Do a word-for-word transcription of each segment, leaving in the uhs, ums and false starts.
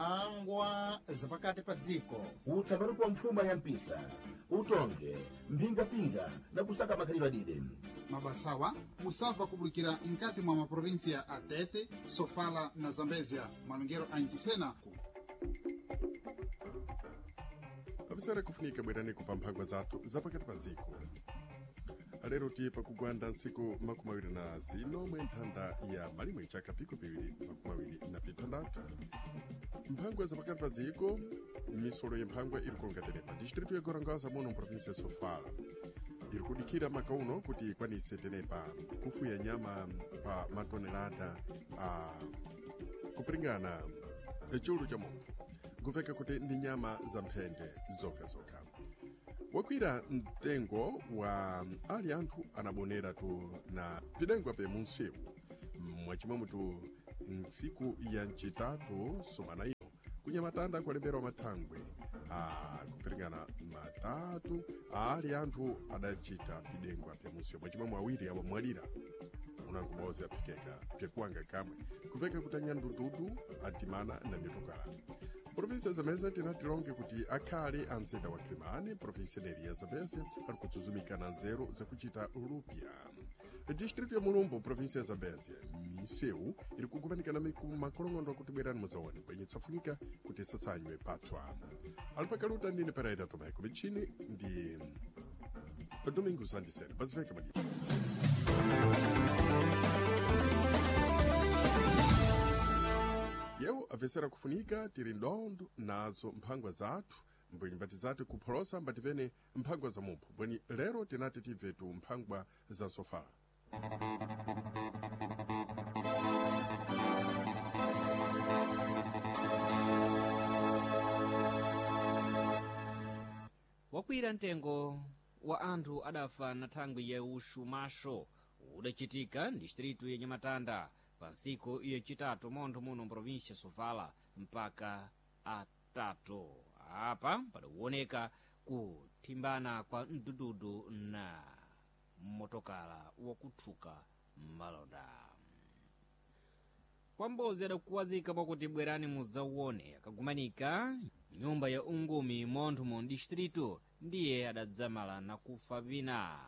Mphangwa zapakati pa dziko. Utsambarupo wa mfuma ya mpisa, utonge, mphingapinga na kusaka makhalidwe adide. Mabasawa musabva kubulikira mkati mwa maprovinsia a Tete, Sofala na Zambezia, malongero a Nchisena. Avisera kufunika bwerani kupa mphangwa zathu zapakati pa ziko. Lero tiye pakugwanda ntsiku makumi awiri na zino mwe nthanda ya malimwe chaka piko piwiri makumi awiri na pitandatu. Mphangwa zapakati pa dziko, misolo ya mphangwa iri kulonga tenepa distritu ya Gorongosa muno mprovinsia ya Sofala iri kudikira maka uno kuti ikwanise tenepa kufuya nyama pa matonelada a kupiringana chulu cha munthu, kuveka kuti ndi nyama za mphende zokhazokha. Wakwira mtengo wa ali anthu anabonera tu na pidengwa pe munsewu mwachimwemutu ntsiku ya ncitatu sumana ino kunyamatanda kulemberwa mathangwe a kupiringana matatu ali anthu adacita pidengwa pe munsewu, mwachimwemwe awiri amamwalira unanguboza aphikeka pyekuwanga kamwe kuveka kuti anyandududu adimana na mitokala. Provinsia ya Zambezia tinatilonge kuti akhale a mzinda wa Kilimani, provinsia ineri ya Zambezia ali kutsuzumika na nzeru zakuchita lupya. Distritu ya Mulumbu, provinsia ya Zambezia, misewu iri kugumanikana makolong'ondo akuti bwerani mudzaone kwenye tsafunika kuti satsanywe patswa. Alipakaluta ndine Pereira Tomeko, michini ndi Domingos Andisene paziveka malipo. Yewu apesera kufunika tiri ndondo nazo mphangwa zathu mbwenyi mbati zathu kupholosa mbativene mphangwa za mumpho bweni lero tinati tibvetu mphangwa za nsofala. Wakwira mtengo wa anthu adafa na thangwi ya uxumaxo udacitika distritu ya Nyamatanda pa ntsiku yacitatu montho muno mprovinsia Sofala mpaka atatu. Apa padawoneka kuthimbana kwa mdududu na motokala wakuthuka malonda. Kwambozi adakuwazika mwakuti bwerani mudzauone akagumanika nyumba ya ungumi montho mu distritu ndiye adadzamala na kufa vina.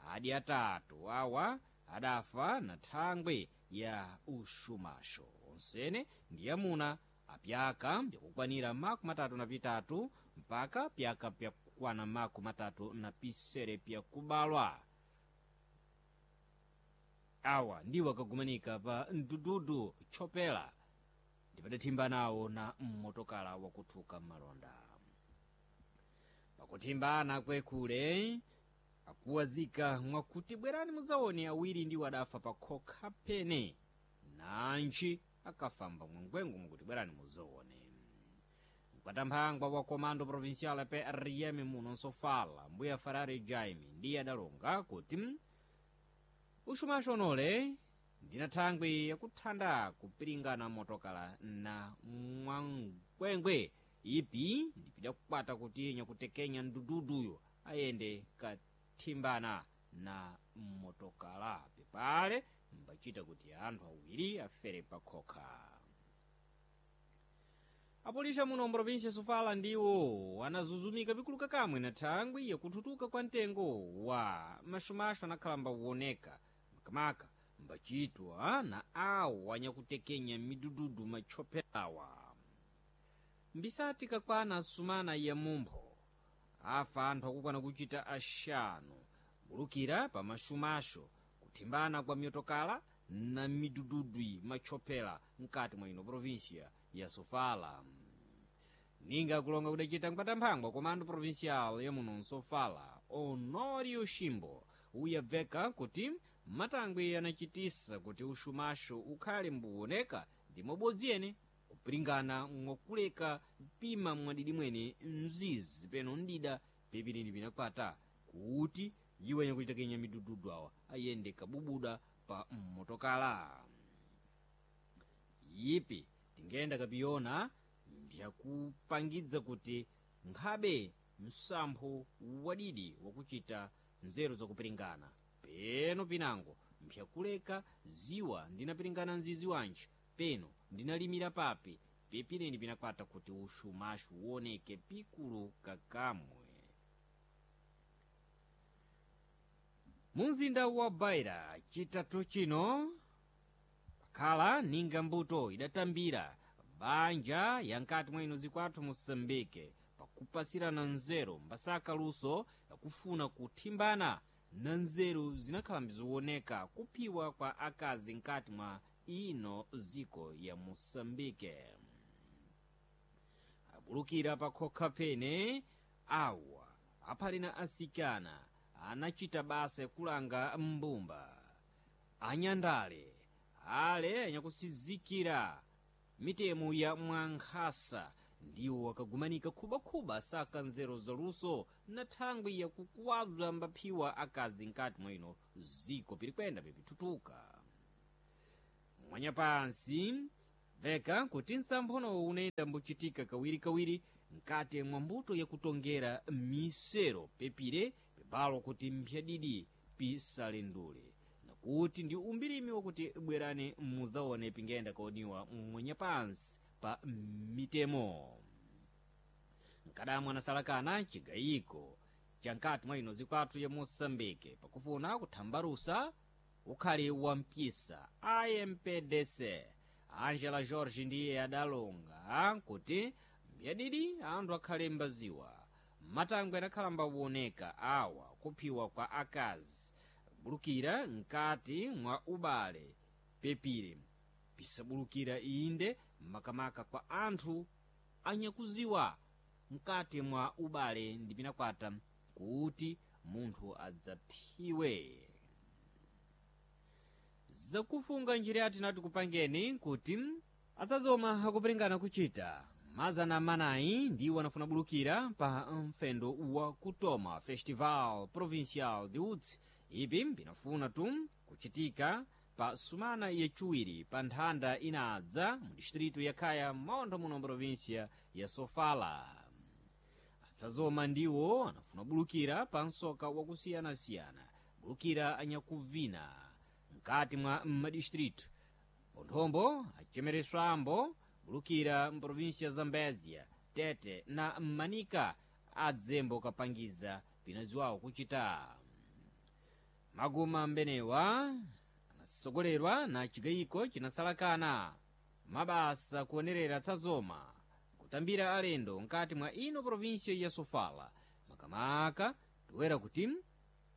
Adi atatu awa adafa na thangwi ya uxumaxo onsene ndi amuna apyaka byakukwanira makumi matatu na pitatu mpaka pyaka pyakukwana makumi matatu na pisere pyakubalwa. Awa ndiwo akagumanika pa mdududu chopela ndipadathimba nawo na mmotokala wakuthuka malonda. Pakuthimbana kwekule akuwazika mwakuti bwerani mudzaone awiri ndiwo adafa pa khokha pene nanji akafamba mwangwengu mwakuti bwerani mudzaone. Mkatamphangwa wa komando provincial P R M muno nsofala mbuya Ferrari Jaime ndiye adalonga kuti uxumaxo onole ndina thangwi yakuthanda kupiringana motokala na mwangwengwe ipi ndipidakukwata kuti nyakutekenya mdududuyo ayende kathimbana na motokala pepale mbachita kuti anthu awiri afere pakhokha. Apolisa muno mprovinsia Sofala ndiwo anazuzumika pikuluka kamwe na thangwi yakuthutuka kwa mtengo wa maxumaxo anakhala mbawuoneka makamaka mbachitwa na awo anyakutekenya midududu matchopelawa. Mbisati kakwana sumana ya mumpho afa anthu akukwana kuchita axanu bulukira pa maxumaxo kuthimbana kwa mitokala na midududwi matchopela mkati mwa ino provinsia ya Sofala. Ninga kulonga kudacita mkatamphangwa komando provincial ya muno nsofala Honório Ximbo uyabveka kuti matangwi anachitisa kuti uxumaxo ukhale mbuwoneka ndi mobodzi ene kupiringana mwakuleka pima mwadidi mwene mzizi peno ndida pepinini pinakwata kuti iwo anyakuchitakenya midududu awa ayende kabubuda pa mmotokala. Ipi tingenda kapiyona mbzakupangidza kuti nkhabe msampho wadidi wakuchita nzeru zakupiringana peno pinango mpyakuleka ziwa ndinapiringana mzizi wanji peno ndinalimira papi Pipileni pinakwata kuti ushumashu uoneke pikulu kakamwe. Mumzinda wa Beira chitatu chino pakhala ninga mbuto idatambira banja yankati mwa ino zikwathu Mosambike pakupasirana nzeru mbasaka luso yakufuna kuthimbana na nzeru zinakhala mbiziwoneka kuphiwa kwa akazi nkati mwa ino ziko ya Mosambike. Abulukira pakhokha pene awa aphali na asikana anachita basa yakulanga mbumba anyandale ale anyakusizikira mitemo ya mwankhasa ndiwo akagumanika khubakhuba saka nzeru zaluso na thangwi yakukuwabza mbaphiwa akazi nkati mwa ino ziko pilikwenda pipitutuka. Mwanyapansi veka kuti nsamphono unayenda mbuchitika kawirikawiri nkati mwa mbuto yakutongera misero pepire pibalo kuti mphyadidi pisalendule nakuti ndi umbirimi wakuti bwerani muzaone pingenda kaoniwa mwanyapansi pa mitemo. Nkadamwa anasalakana chigayiko cha nkati mwa ino zikwathu ya Mosambike pakufuna kuthambalusa ukhali wa mpisa I M P D C. Angela George ndiye adalonga kuti mbyadidi anthu akhale mbaziwa matangwe anakhala mbawoneka awa kuphiwa kwa akazi bulukira nkati mwa ubale pepire pisabulukira inde makamaka kwa anthu anyakuziwa mkati mwa ubale ndi pinakwata kuti munthu adzaphiwe. Zakufunga njira tinati kupangeni kuti adzazoma akupiringana kuchita mazana manayi ndiwo anafuna bulukira pa mfendo wa kutoma Festival Provincial de Utsi. Ipi pinafuna tu kuchitika pa sumana yachiwiri pa nthanda inadza mu distritu ya Khaya maontho muno provinsia ya Sofala. Adzazoma ndiwo anafuna bulukira pa msoka wakusiyanasiyana bulukira anyakuvina mkati mwa madistritu ponthombo achemereswambo bulukira mprovinsia ya Zambezia, Tete na Manika adzembo kapangiza pinaziwawo kuchita. Maguma mbenewa anasogolerwa na chigayiko chinasalakana mabasa kuonerera tsazoma kutambira alendo nkati mwa ino provinsia ya Sofala makamaka toera kuti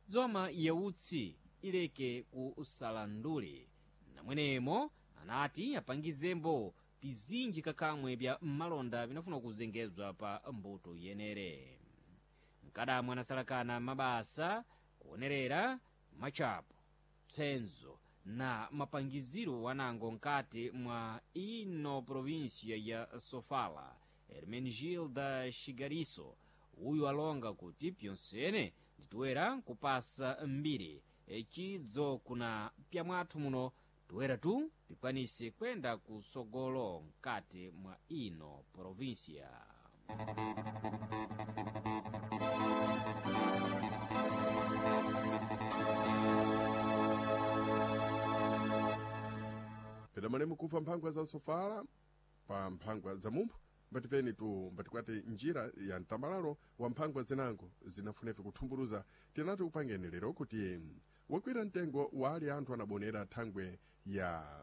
zoma yautsi ileke kusalandule. Namwenemo anati apangizembo pizinji kakamwe bya malonda vinafuna kuzengezwa pa mbuto yenere. Mkadamwe anasalakana mabasa kuonerera machapo tsenzo na mapangiziro wanango nkati mwa ino provinsia ya Sofala. Hermenegilda Xigariso uyu alonga kuti pyonsene nditoera kupasa mbiri chidzo kuna pyamwathu muno toera tu pikwanise kwenda kusogolo nkati mwa ino provinsia. Pedamane mukufa mphangwa za Sofala pa mphangwa za mumphu mbatifeni tu mbatikwati njira ya mtambalalo wa mphangwa zinango zinafunefe kuthumbuluza. Tinati kupangeni lero kuti wakwira mtengo wali anthu anabonera thangwe ya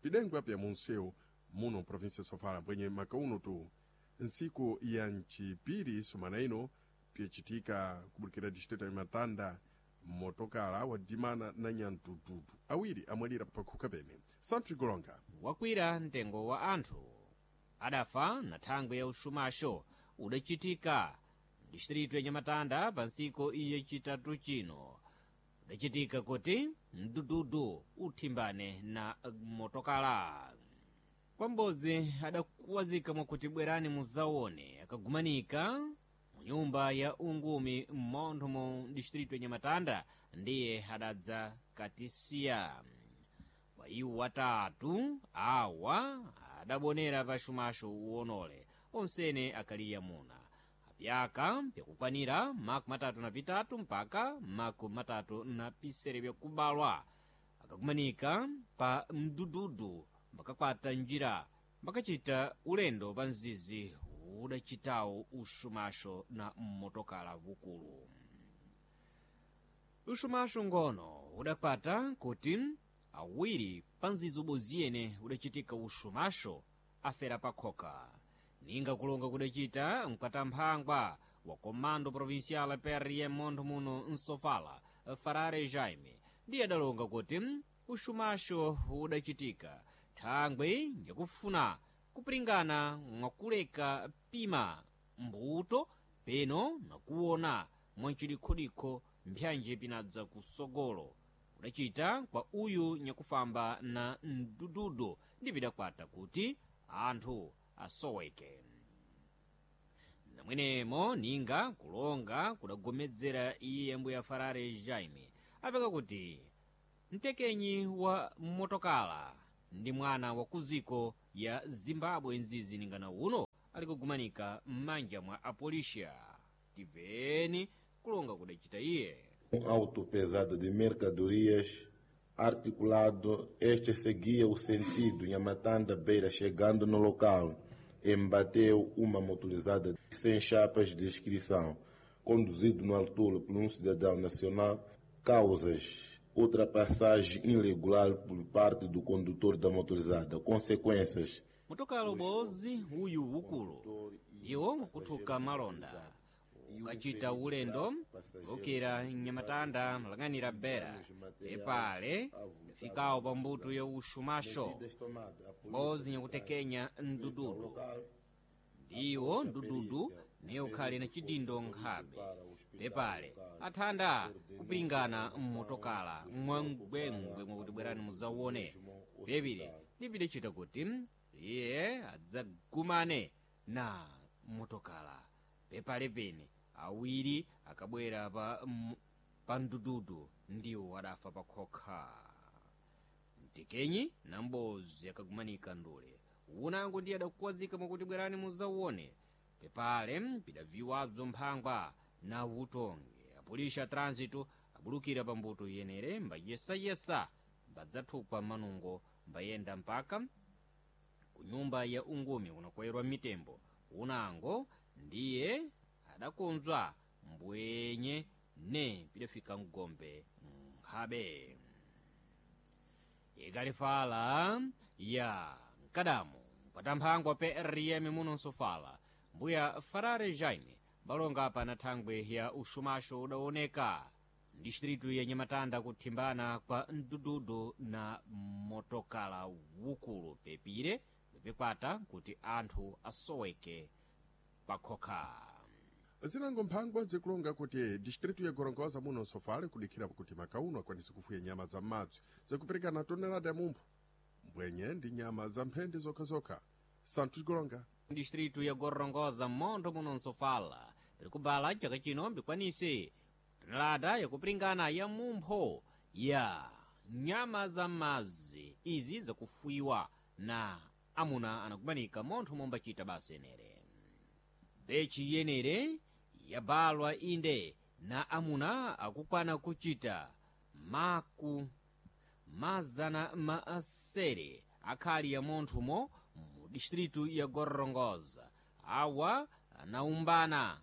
pidengwa pya munsewu muno provinsia Sofala mbwenye makauno tu ntsiku ya mchipiri sumana ino pyacitika kubulikira distrito ya Matanda motokala wadimana na nyantututu awiri amwalira pakhuka pene. Santos Golonga wakwira mtengo wa anthu adafa na thangwe ya ushumasho udachitika distritu ya Nyamatanda pa ntsiku yachitatu chino. Udachitika kuti mdududu uthimbane na motokala. Kwambodzi adakuwazika mwakuti bwerani muzaone akagumanika mu nyumba ya ungumi m'montho mu distritu ya Nyamatanda ndiye adadza katisiya. Kwa iwo watatu awa adabonera paxumaxo uwonole onsene akaliya muna apyaka pyakukwanira maku matatu na pitatu mpaka maku matatu na pisere pyakubalwa akakumanika pa mdududu mbakakwata njira Mbakachita ulendo pa mzizi udachitawo uxumaxo na mmotokala vukulu. Uxumaxo ngono udakwata kuti awiri pa mzizi uboziyene udachitika uxumaxo afera pakhoka. Ninga kulonga kudachita mkatamphangwa wa Comando Provincial P R M montho muno Nsofala, Farare Jaime, ndiye adalonga kuti uxumaxo udachitika thangwe yakufuna kupiringana mwakuleka pima mbuto peno nakuona mwachilikhodikho mphyanji pinadza kusogolo kudachita kwa uyu nyakufamba na mdududu ndi pidakwata kuti anthu asoweke. Namwenemo ninga kulonga kudagomedzera iye mbuya Farare Jaime apeka kuti mtekenyi wa motokala ndi mwana wa kuziko ya Zimbabwe nzizi ningana uno ali kugumanika m'manja mwa apolisia. Tiveni kulonga kudachita iye. Um auto pesado de mercadorias articulado, este seguia o sentido Nhamatanda Beira, chegando no local, embateu uma motorizada sem chapas de inscrição, conduzido no altura por um cidadão nacional, causas ultrapassagem irregular por parte do condutor da motorizada, consequências. Motokala ubozi uyu ukulu iwo nkuthuka malonda ukachita ulendo ukira Nyamatanda malang'anira Bera epale fikawo pa mbuto ya uxumaxo mbozi nyakutekenya mdududu ndiwo mdududu ne ukhali na chidindo nkhabe pepale athanda kupiringana mmotokala mwangwengwe mwakuti bwerani muzawone pepile ndipidachita kuti iye adzagumane na motokala pepale pene awiri akabwera pa, m- pa mdududu ndiwo adafa pakhokha. Mtekenyi na mbozi akagumanika ndule unango ndiye adakuwazika mwakuti bwerani muzawone pepale pidaviwabzo mphangwa na utonge apolisi a trânsito abulukira pa mbuto yenere mbayesayesa mbadzathupha manungo mbayenda mpaka ku nyumba ya ungumi kunakwerwa mitembo unango ndiye adakonzwa mbwenye ne pidafika mgombe nkhabe. Ikalifala ya mkadamu mpatamphangwa P R M muno Nsofala mbuya Farare Jaime balonga apa na thangwe ya uxumaxo udaoneka distritu ya Nyamatanda kuthimbana kwa mdududu na motokala wukulu pepire pepekwata kuti anthu asoweke pakhokha. Zinango mphangwa zikulonga kuti distritu ya Gorongosa muno Nsofale kudikhira kuti makauno akwanise kufuya nyama za m'madzi zikuperekana tonelada ya mumphu mbwenye ndi nyama za mphende zokhazokha. Santos Golonga. Distritu ya Gorongosa montho muno Nsofala pikubala chaka chino mbikwanise tonelada yakupiringana ya mumpho ya nyama za madzi izi zakufuyiwa na amuna anakumanika montho mombachita basa yenere bechi yenere yabalwa inde na amuna akukwana kuchita maku mazana maasere akhali ya monthumo mu distritu ya Gorongosa. Awa anaumbana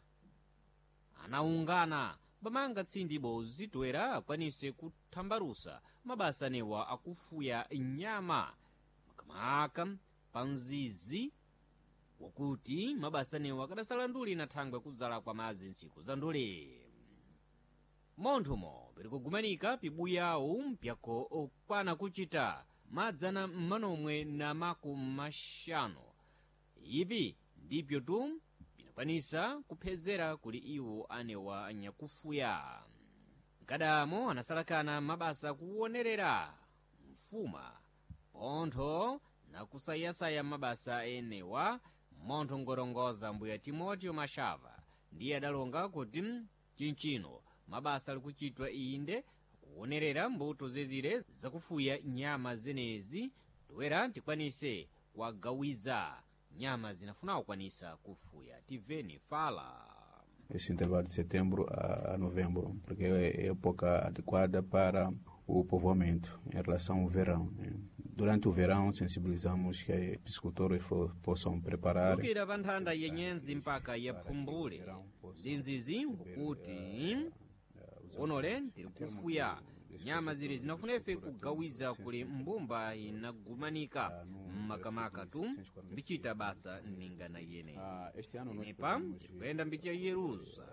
anaungana bamanga tsindi bozi toera akwanise kuthambalusa mabasa anewa akufuya nyama makamaka pa mzizi wakuti mabasa anewa akadasala nduli na thangwe kudzala kwa madzi ntsiku za nduli. Monthumo pirikugumanika pibuyawu mpyako okwana kuchita madzana mmanomwe na maku maxanu ipi ndipyo tu pinakwanisa kuphezera kuli iwo anewa anyakufuya. Mkadamo anasalakana mabasa kuwonerera mfuma pontho nakusayasaya mabasa enewa montho ngorongoza mbuya Timoteo Mashava ndiye adalonga kuti chinchino mabasa ali kuchitwa inde kuwonerera mbuto zezire zakufuya nyama zenezi toera tikwanise kuwagawiza nyama zinafuna kukwanisa kufuya. Tiveni fala. Esse intervalo de setembro a, a novembro, porque é a época adequada para o povoamento em relação ao verão, né? Durante o verão, sensibilizamos que piscicultores possam preparar. Kukira pa nthanda yenyenzi mpaka yaphumbule ndi nzizi kuti onole tiri kufuya nyama zili zinafuna ife kugawiza kuli mbumba inagumanika mmakamaka tu mbichita basa ningana yene inepa tirikuyenda mbiti ya yerusa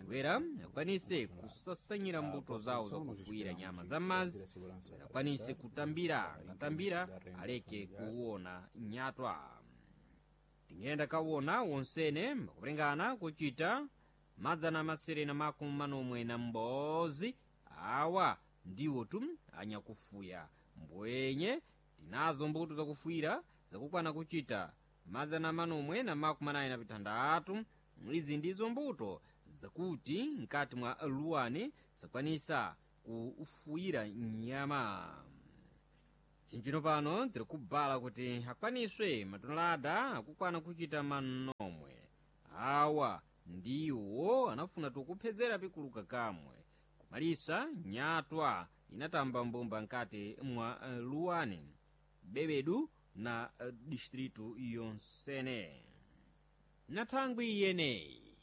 bwera akwanise kusasanyira mbuto zawo zakufuyira nyama za mazi bwera akwanise kutambira akatambira aleke kuwona nyatwa. Tingenda kawona wonsene mbakulengana kuchita madzana masere na makumi manomwe na mbozi awa ndiwo tu anyakufuya mbwenye tinazo mbuto zakufuyira zakukwana kuchita madzana manomwe na makumi anayi na pitandatu. Izi ndizo mbuto zakuti mkati mwa luwani zakwanisa kufuyira nyama. Chinchino pano tiri kubala kuti akwaniswe matonelada akukwana kuchita manomwe awa ndiwo anafuna tukuphedzera pikuluka kamwe kumalisa nyatwa inatamba mbumba nkati mwa luwani bebedu na distritu yonsene. Na thangwi iyeneyi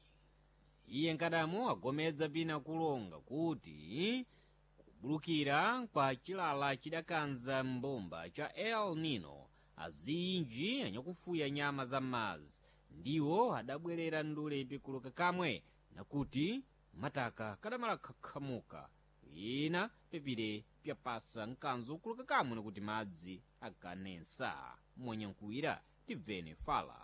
iye nkadamu agomedza pina kulonga kuti kubulukira kwa chilala chidakanza mbumba cha El Nino azinji anyakufuya nyama za mazi ndiwo adabwerera ndule pikuluka kamwe nakuti mataka kadamala khakhamuka ina pepire pyapasa mkanzo ukuluka kamwe nakuti madzi akanensa. Monyankuwira tibvene fala.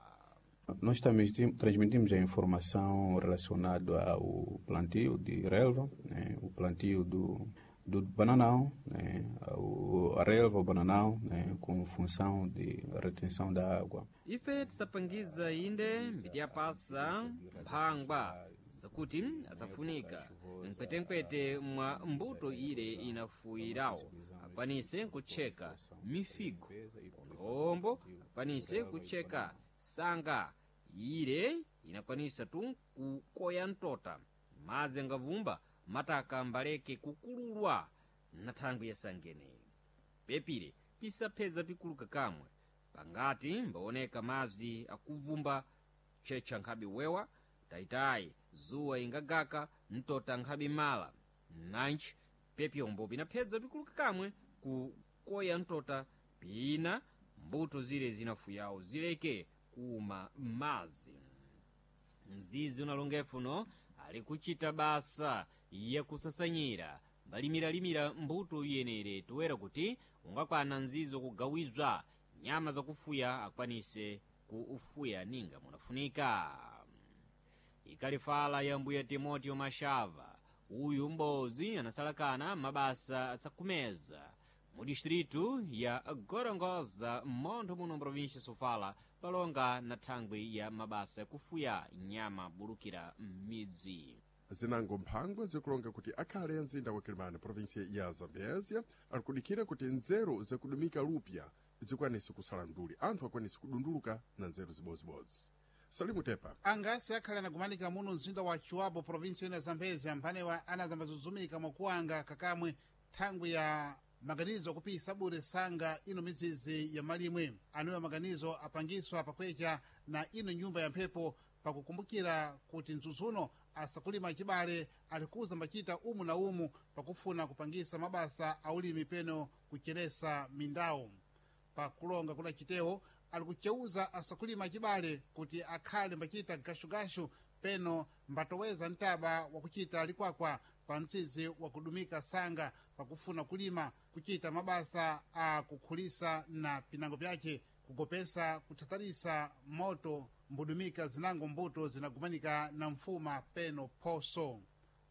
Nós transmitimos a informação relacionada ao plantio de relva, né, o plantio do, do bananão, né, o, a relva, o bananão, né, com função de retenção da água. Ife tisapangiza inde mbiti yapasa mphangwa zakuti asafunika mkwetenkwete mwa mbuto ile inafuyirawo akwanise kutcheka mifigo pondombo akwanise kutcheka sanga ile inakwanisa tu kukoya mtota madzi angavumba mataka mbaleke kukululwa na thangwi yasangeneyi pepire pisaphedza pikuluka kamwe pangati mbaoneka madzi akuvumba tchetcha nkhabe wewa tayitayi zuwa ingagaka mtota nkhabe mala nanji pepyombo pinaphedza pikuluka kamwe kukoya mtota pina mbuto zile zinafuyawo zileke kuma mazi. Mzizi unalongefuno ali kuchita basa yakusasanyira mbalimilalimira mbuto iyenere toera kuti ungakwana mzizi wakugawizwa nyama zakufuya akwanise kuufuya ninga munafunika. Ikalifala ya mbuya Timoteo Mashava uyu mbozi anasalakana mabasa asakumeza mu distritu ya Gorongosa montho muno mprovinsia Sofala palonga na thangwi ya mabasa yakufuya nyama bulukira m'midzi. Zinango mphangwa zikulonga kuti akhale a mzinda wa Kilimani provinsia ya Zambezia alikudikira kuti nzeru zakudumika lupya zikwanise kusala nduli anthu akwanise kudunduluka na nzeru zibozibodzi. Salimu Tepa Angasi akhale anagumanika muno mzinda wa Chiwabo provinsi ino ya Zambezia mphanewa anazambazuzumika mwakuwanga kakamwe thangwi ya maganizo akupisa bure sanga ino mizizi ya malimwe. Anuwa maganizo apangiswa pakwecha na ino nyumba ya mphepo pakukumbukira kuti mzuzuno asakulima chibale alikuza mbachita umu na umu pakufuna kupangisa mabasa aulimi peno kucheresa mindawo. Pakulonga kula chitewo alikucheuza asakulima chibale kuti akhale mbachita gashugashu peno mbatoweza mtaba wakuchita likwakwa pa mtsizi wakudumika sanga pakufuna kulima kuchita mabasa a kukhulisa na pinango pyace kugopesa kuthatalisa moto mbudumika zinango mbuto zinagumanika na mfuma peno phoso.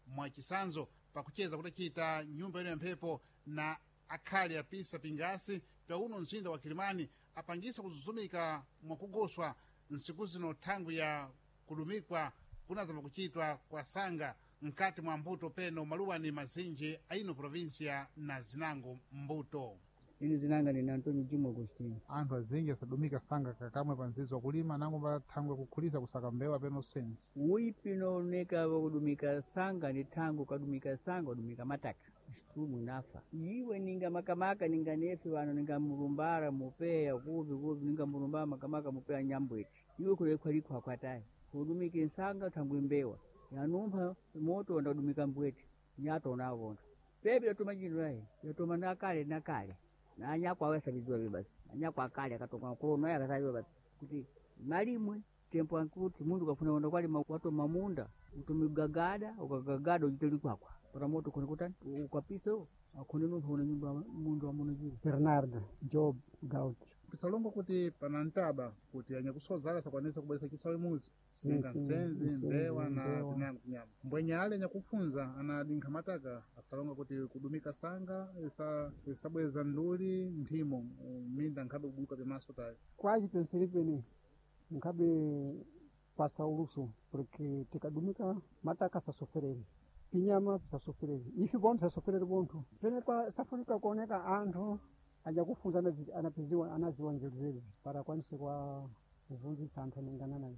Mwachisanzo pakucheza kudacita nyumba ino ya mphepo na akhale apisa pingasi pa uno mzinda wa Kilimani apangisa kuzuzumika mwakugoswa nsiku zino thangwi ya kudumikwa kunazama kuchitwa kwa sanga mkati mwa mbuto peno maluwani mazinji aino provinsia na zinango mbuto. Ine zinanga ndine Antônio Juma Agostinho. Anthu azinji asadumika sanga kakamwe pa mzizi wakulima nango pathangwe kukhulisa kusaka mbewa peno sense. Uipi unooneka wakudumika sanga ni thango ukadumika sanga udumika mataka. Strumu inafa. Iwe ninga makamaka ninga nefe wano ninga mulumbara mupeya kuvi kuvi ninga mulumbara makamaka mupeya nyambweti. Iwe kule kwaliko akwatayi. Kudumika nsanga thangwi mbewa. Yanumpha moto ndadumika mbweti. Nyato navona. Pepe yatuma jino yayi. Yatuma nakale nakale. Na anyako awasabizwa basi. Anyako akale akatoka kuno yakasabizwa basi. Kuti malimwe tempo ankuti mundu kafuna kwenda kwalima watoma munda utumigagada ukagagada ujiteli kwakwa pata moto kone kutani ukapisa akhone nunthu une nyumba mundu amunojira Bernardo Job Gaut. Tisalongo kuti pana ntaba kuti anyakusozala sakwanisa kubweresa chisawe muzi Sim, ninga sim, mtsenzi mtsenzi, mbewa na mbewa. tinango tinyama mbwenyale nyakufunza anadinkha mataka asalonga kuti kudumika sanga isa isabweza nduli nthimo minda nkhabe kubuka pimaso tayo Quase pensei bene nkhabe pasa uluso porque tikadumika mataka sasoferere pinyama pisasoferere ifi bonthu sasoferere bonthu pene kwa safunika kuoneka anthu ajakufunza anazi- anapeziwa anaziwa nzeru zezi para akwanise kwa kuvunzitsa anthu anengana naye.